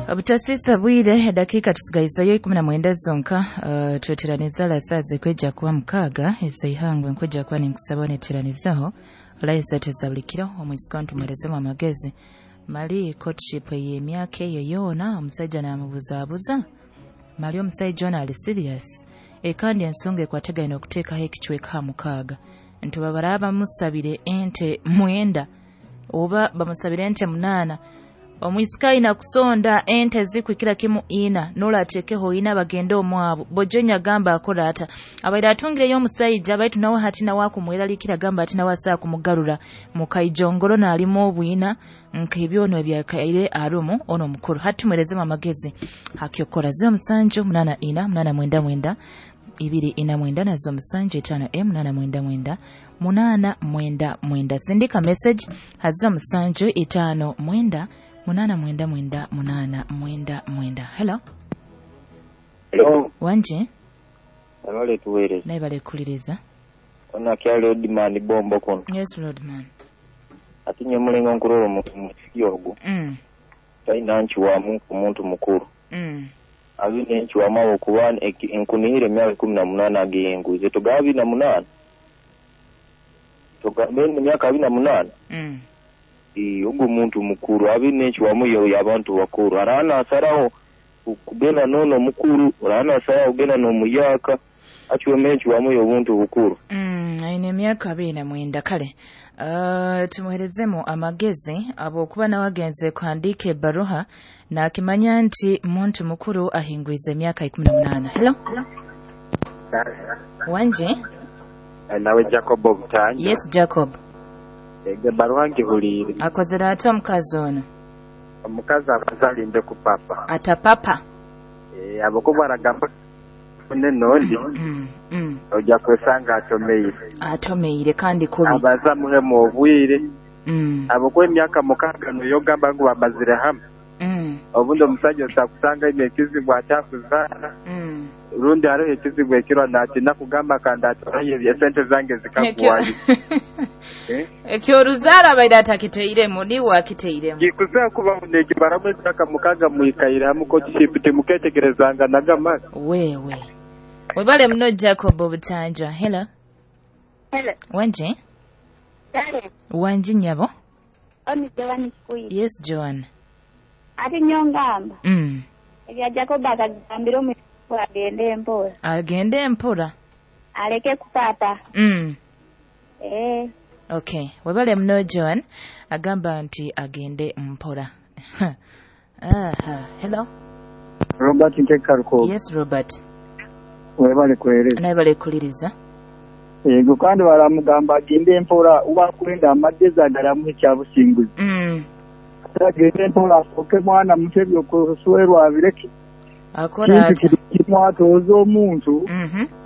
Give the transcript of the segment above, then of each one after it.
Obutasisa bwire edakika tusigaizeyo 19 zonka. Tweteraniza la saa zikwijja kuba 6 ezeihangwe nkwijja kuba ninkusaba neteranizaho layiza tuzabulikiro omwisika ntumwerezemu amagezi mali courtship ey'emyaka eyo yoona omusajja n'amubuzaabuza mali omusajja ono ali serious kandi ensonga ekwategaine okuteekaho ekicweka ha 6 nti babaraba bamusabire ente 9 oba bamusabire ente 8 omwisika ayina kusonda ente zikwikira kimu ina nola atekeho ina bagende omwabo bojonya agamba akola ata abaire atungireyo omusajja baitu nawe hati nawe akumweralikira gamba ati nawe asaa kumugarura mukaijongoro n'alimu obwina nk'ebyono ebyakaire arumu ono omukuru hati tumwerezemu amagezi hakyokora 07 84 899 249 na 07 5 899 899 sindika message hazo 7 5 9 899 899. Hello. Hello. Wanje. Abale tuwereza. Naye bale kuliriza. Ona kya Rodman bombo kono. Yes Rodman. Ati nyemulengo nkuroro mu yogo. Taina nchiwamu omuntu mukuru. Abine nchiwama okuba enkunihire emyaka 18 agiyenguze togabi na 8. Togabe emyaka 28. Ogo muntu mukuru abine nchiwamu yo abantu bakuru arana asaraho kugenda nono mukuru arana asaraho kugenda no muyaka achiwe nchiwamu yo buntu bukuru. Aine emyaka 29 kale. Tumuherezemu amagezi abo kuba nawagenze kuhandika ebaruha na akimanya nti muntu mukuru ahingwize emyaka 18. Hello. Wanje. Nawe Jacob Obutanja. Yes Jacob. Ege baruha ngihulire. Akozera ate omukazi ono? Omukazi abazalinde ku papa. Ata papa? Abokuba aragamba nondi. Ojja kwesanga atomeire. Atomeire kandi kubi. Abaza muhemu obwire. Abokuba emyaka 6 nuyogamba ngu bamazire hamwe. Obundi omusajja otakusanga ine ekizibu akyakuzara. Rundi hariho ekizibu ekiro natina kugamba kandi atoraye esente zange zikagwayo. Ekyo ruzaara abaire atakiteiremu niwe akiteiremu. Gikuza kuba nekibaramu emyaka 6 mwikaire hamwe courtship timuketegerezanga nagama. Wewe. Webale mno Jacob Obutanja. Hello. Hello. Wanje? Hello. Wanje nyabo? Oni Joan Kuyi. Yes Joan. Ati nyongamba. Ebya Jacob akagambira omu agende mpola. Agende mpola. Aleke kupapa. Okay. Webale mno Joan agamba nti agende mpola. Aha. Hello. Robert Ntekarko. Yes Robert. Webale kuhereza. Naye bale kuliriza. Yego kandi baramugamba agende mpola uba kwenda amagezi agaramu ekyabusinguzi. Agende mpola asoke mwana mutebyo kuswerwa abireke. Akora ati kimwatoza omuntu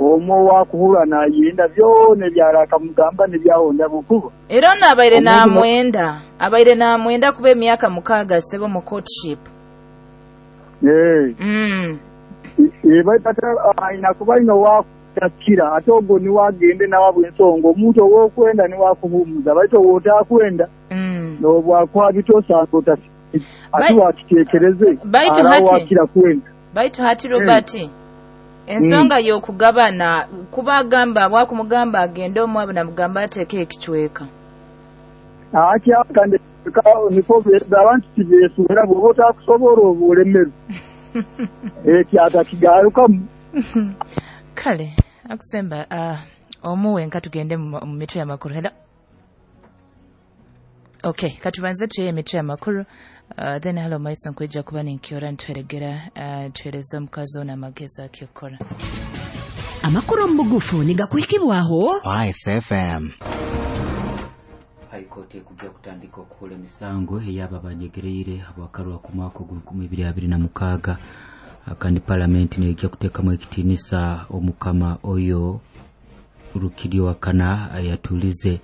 omwo wakuhura nayenda byone byaraka mugamba nebyahonda bukuba. Era ono abaire namwenda. Abaire namwenda kuba emyaka 6 sebo mu courtship. Baitata ayina kuba ino wakutakira ate ogwo niwagende nawabwe ensonga omuntu owokwenda niwakuhumuza baito wotakwenda nobwakuha bitosanga otasi ate wakitekereze wakira kwenda. Baitu hati Robert ensonga y'okugabana kuba agamba wakumugamba agende omwabo namugamba ateeke ekicweka. Akyakande niko abantu tibesuubira bw'oba otakusobola obulemeru. Ekyatakigarukamu. Kale akusemba omuwe nka tugende mu mitwe y'amakuru. Hello. Okay, katubanze tuye emitwe y'amakuru. Then hello maiso nkwijja kuba ninkyora ntweregera tuhereza omukazi ono amagezi akyokora. Amakuru mu bugufu nigakuhikibwaho Spice FM. High Court ekujja kutandika okukola emisango ey'abo abanyegereire abwakalwa ku mwaka ogw'enkumi ibiri abiri na mukaaga. Kandi palamenti nejja kuteekamu ekitiinisa omukama oyo Rukidi Wakana ayatulize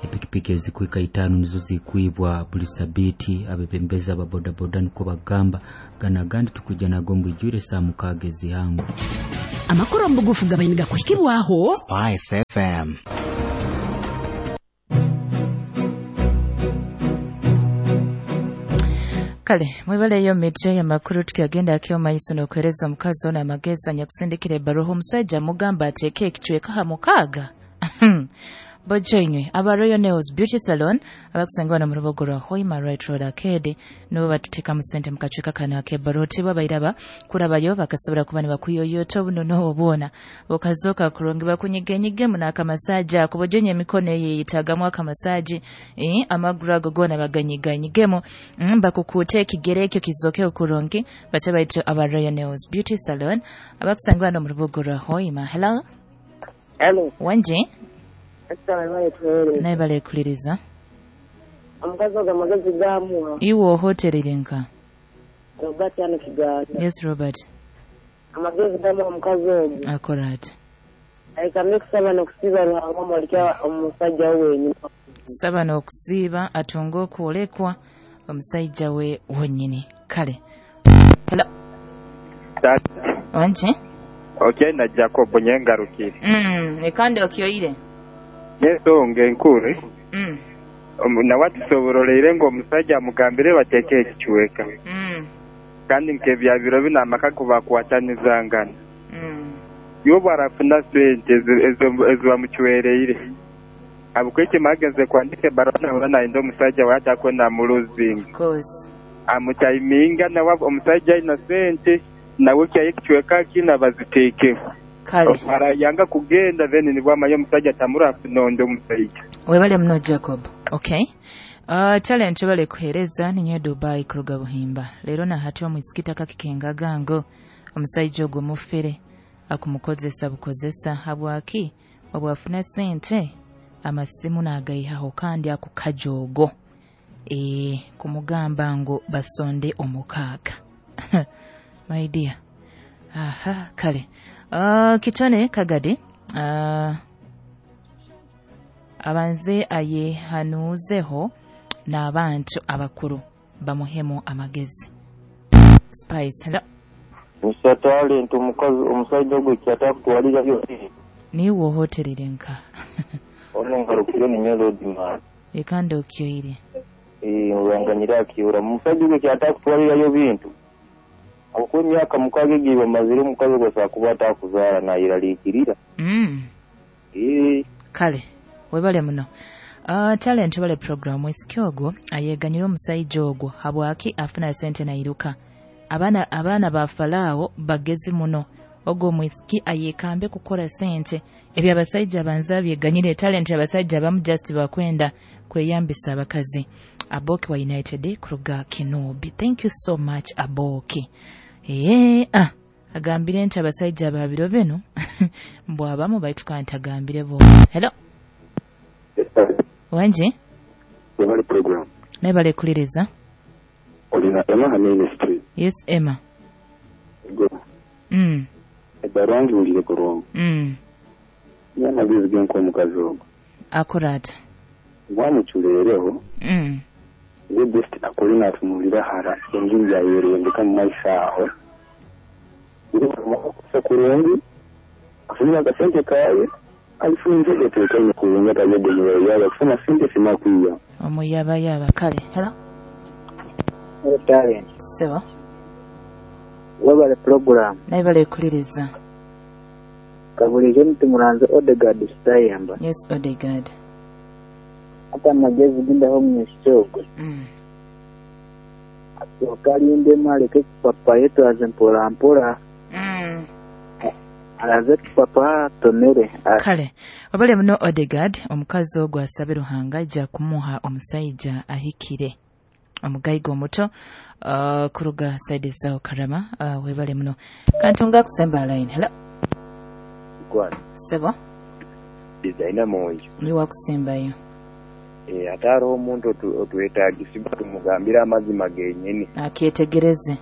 epikipiki ezikwika 5 nizo zikwibwa buli sabiti abebembeza ababodaboda niko bagamba gana gandi tukujja nago mbwijwire saa 6 ezihangu. Amakuru mu bugufu gabaine gakuhikibwaho Spice FM. Kale mwebaleyo mitwe y'amakuru tukyagenda akyo maiso n'okuhereza omukazi ono amagezi anyakusindikira ebbaruha omusajja mugamba ateeke ekicweka ha mukaaga. Bojoinywe aba Royal Nails Beauty Salon abakusangwa mu rubuga rwa Hoima Right Road Arcade nibo batuteekamu sente mu kacweka kano ak'ebbaruha tibo bairaba kurabayo bakasobola kuba nibakuyoyota obuno n'obwona okazoka kurungi bakunyigenyigemu n'akamasaji ako bojonye emikono eyo eyetaagamu akamasaji amaguru ago goona baganyiganyigemu bakukuute ekigere ekyo kizoke kurungi bache baitu aba Royal Nails Beauty Salon abakusangwa mu rubuga rwa Hoima. Hello. Hello. Wanje naye balekuliriza omukazi ogwo amagezi gamuwa iwe ohoterere nka Robert ano Kigaanda. Yes Robert, amagezi gamuwa omukazi ogwo akora ati aikamye kusaba n'okusiiba Ruhanga omuleke omusajja we wenyini saba n'okusiiba atunge okwolekwa omusajja we wonyini. Kale hello. Wanje okay na Jacob nyengarukire ekandi okyoire n'ensonga enkuru nawe atusobororere ngu omusajja amugambire bateeke ekicweka kandi nk'ebyabiro bino amaka kubakwatanizangana yobu arafuna sente ezibamucwereire abukweki magenze kwandika ebbaruha nawe nayenda omusajja we atakwenda amuluzinga amutaiminga nawe omusajja aina sente nawe kyaye ekicweka kina baziteekeho. Kale yanga kugenda then nibwo amanya omusajja tamurafuna omusajja. Webale muno Jacob. Okay. Talent bale kuhereza ninyo Dubai kuruga Buhimba. Leero na hati omwisikita kakikenga gango omusajja ogwo mufere akumukozesa bukozesa habwaki obwafuna sente amasimu n'agayihaho kandi akukajogo kumugamba ngo basonde omukaaga. My dear. Aha, kale. Kitone Kagadi abanze ayehanuzeho n'abantu abakuru bamuhemu amagezi. Spice. Hello. Mr. Talent omukazi omusajja gwe kyatakutwalira byo niwe ohoterere nka ono ngarukire ni Melody man ekandi okyoire uranganyira akiura omusajja gwe kyatakutwalirayo bintu akuwa emyaka mukaaga egiye bamazire omukazi gwe kuba atakuzaala nayeraliikirira. Kale webale muno. Talent bale program esiki ogwo ayeganyira omusajja ogwo habwaki afuna sente nairuka abaana ba Falaawo bagezi muno ogwo omwisiki ayekambe kukora sente ebyo abasajja banza byeganyire talent abasajja abamu just bakwenda kweyambisa abakazi. Aboki wa United kuruga Kinobi. Thank you so much Aboki. Agambire nti abasajja babiro bino mbw abamu baituka ntagambire bo. Hello. Wanje webale program naye balekuliriza olina Emma Ministry. Yes Emma. Go. Ebbaruha ngiwulire kurungi. Niyo amagezi genk'omukazi ogwo akora ata wamuculeereho ye best akore naatunuulira hara engeri yayerembeka mu maiso aho asa kurungi afunire akasente kaye alifunze gateekaine kurungi atayegenyera kufuna sente simakwiya omuyabayaba. Kale hello. Talent. Sebo webale program naye balekuliriza kabulijo mutumuranze Odegaard Stayamba. Yes Odegaard. Ata amagezi gindaho omwisiki ogwo asooka alindemu aleke ekipapa yetwaze mpola mpola alaze ekipapa atomere. Kale wabale muno Odegaard omukazi ogwo asabe Ruhanga ajja kumuha omusajja ahikire omugayiga omuto kuruga saidi zao Karama. Webale muno kantunga kusemba line. Hello. Sebo designer monjo niwa kusembayo ate hariho omuntu otwetagisibwa tumugambire amazima genyini akyetegereze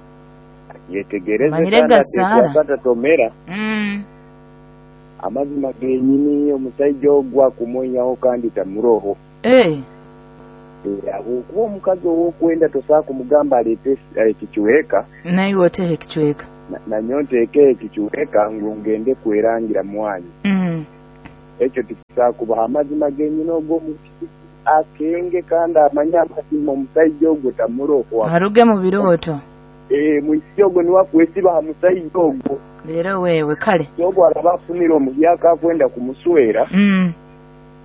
atatomera amazima genyini omusajja ogwo akumonyaho kandi tamuroho kuba omukazi ow'okwenda tosobola kumugamba aleete ekikiweka naye oteeka ekikiweka nanyo nteeke ekikiweka ngu ngende kwerangira mwanyi ekyo tikisobola kubaho amazima genyini ogwo Akenge kandi amanye amazima omusaija ogwo tamuroho. Aruge mu birooto. Mwisiki ogwo niwe akwesiba aha musaija ogwo. Leero wewe kale. Ogwo araba afunire omuhyaka akwenda kumuswera.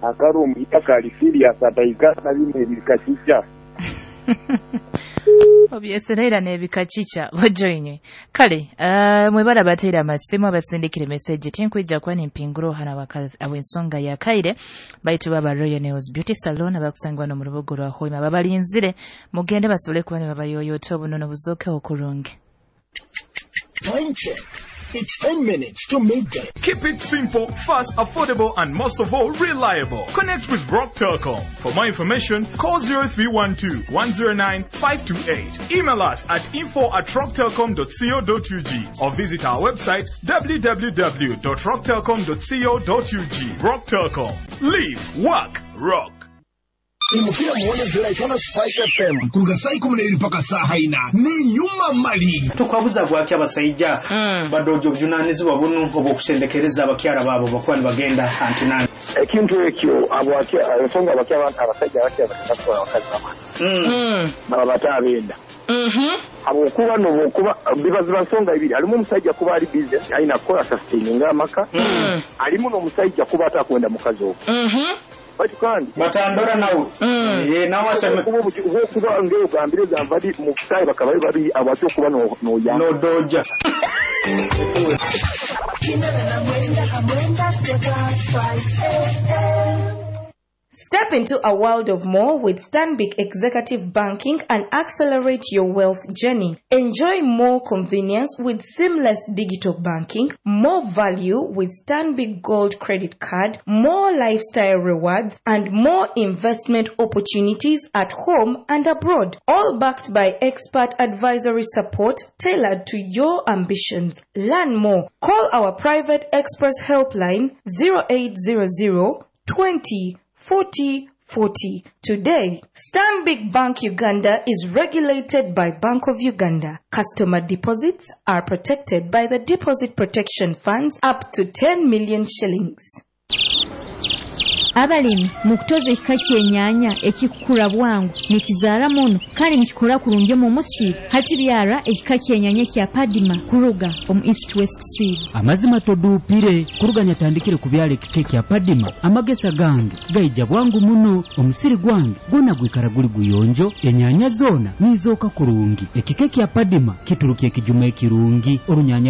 Akari omuhyaka ali serious ataikara na bino ebikakica. Obyesereera n'ebikakica bojoinywe. Kale mwebara bateera amasimu abasindikire message tinkwija kuba nimpingura hana wakazi awensonga ya kaire baitu baba Royal Nails Beauty Salon abakusangwa no mu rubuga rwa Hoima babalinzire mugende basobole kuba ne babayoyota obunono buzoke okurungi. Time check. It's 10 minutes to midday. Keep it simple, fast, affordable, and most of all, reliable. Connect with Rock Telcom. For more information, call 0312 109 528. Email us at info@rocktelcom.co.ug or visit our website www.rocktelcom.co.ug. Rock Telcom. Live, work, rock. Imukira muone ziraitana Spice FM kuruga saa 12 mpaka saa 4 ni nyuma mali. Tukwabuza bwaki abasaija badojo obujunanizibwa bunu obwokusendekereza abakyara babo bakuba nibagenda antinani. Ekintu ekyo abwaki ensonga abakyara abasajja abakyara bakatwara abakazi babo. Baba batabenda. Habwokuba nobwokuba bibaziba nsonga ibiri alimu omusajja kuba ali busy alina kukola sustaining amaka. Alimu n'omusajja kuba atakwenda mukazi ogwo. Bati kandi batandora nawe nawe aseme kuba ngeo gambire gambali mu kusai bakaba bari abacho kuba no ya no doja. Step into a world of more with Stanbic Executive Banking and accelerate your wealth journey. Enjoy more convenience with seamless digital banking, more value with Stanbic Gold Credit Card, more lifestyle rewards, and more investment opportunities at home and abroad. All backed by expert advisory support tailored to your ambitions. Learn more. Call our private express helpline 0800 20 40 40. Today, Stanbic Bank Uganda is regulated by Bank of Uganda. Customer deposits are protected by the Deposit Protection Funds up to 10 million shillings. Abalimi mukutoza ekika ky'ennyanya ekikukura bwangu nikizaara muno kandi nikikora kurungi omu musiri hati byara ekika ky'ennyanya kya Padima kuruga omu East West Seed. Amazima toduupire kuruga nyatandikire kubyara ekika kya Padima amagesa gange gaija bwangu muno omusiri gwange gwona gwikara guli guyonjo ennyanya zoona nizooka kurungi. Ekika kya Padima kituruka ekijuma ekirungi orunyanya.